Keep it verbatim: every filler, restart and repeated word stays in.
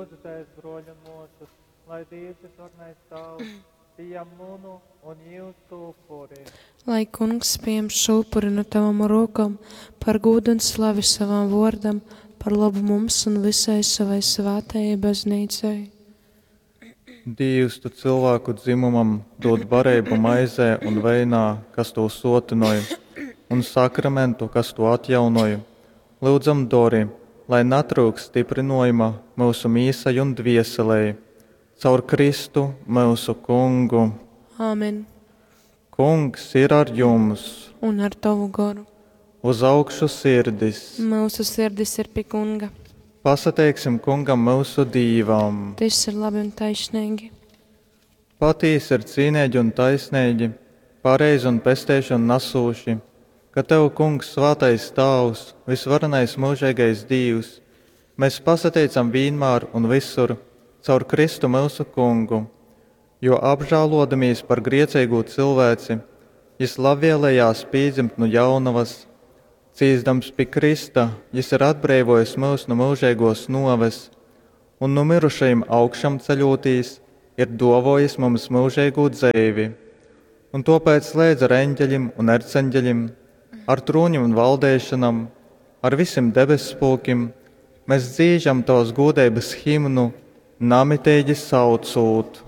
Lūdzu, bruoļi un muosys, lai Dīvs Vysvarenais Tāvs pījam munu un jūsu upuri. Lai Kungs pieņem šo upuri no tavam rokām par gūdu un slavi savam vārdam, par labu mums un visai savai svētajai baznīcai. Dīvs, tu cilvēku dzimumam dod bareibu maizē un veinā, kas to sotinoj, un sakramentu, kas to atjaunoj. Lūdzam, dori, lai natryukst stiprinojuma myusu mīsai un dvieselei. Caur Kristu myusu Kungu. Āmen. Kungs ir ar jums! Un ar tavu goru. Uz augšu sirdis! Mūsu sirdis ir pie Kunga. Pasateiksim Kungam myusu Dīvam! Tas ir labi un taisnīgi. Patīsi ir cīnīgi un taisnīgi, pareizi un pesteišanu nasūši, ka Tev, Kungs, svētais Tāvs, visvarenais mūžīgais Dīvs, mēs pasateicam vienmēr un visur caur Kristu myusu Kungu, jo apžēlodamīs par griecīgo cilvēci, jis labvēlējās pīdzimt no jaunavas, cīsdams pie Krista, jis ir atbrīvojis mūs no mūžīgos noves, un no mirušajiem augšām ceļotīs, ir dovojis mums mūžīgo dzeivi. Un topēc slēdz ar eņģeļim un erceņģeļim, ar trūņiem un valdēšanam, ar visiem debesspulkim, mēs dzīžam tavas gūdeibas himnu, namitīgi saucūt.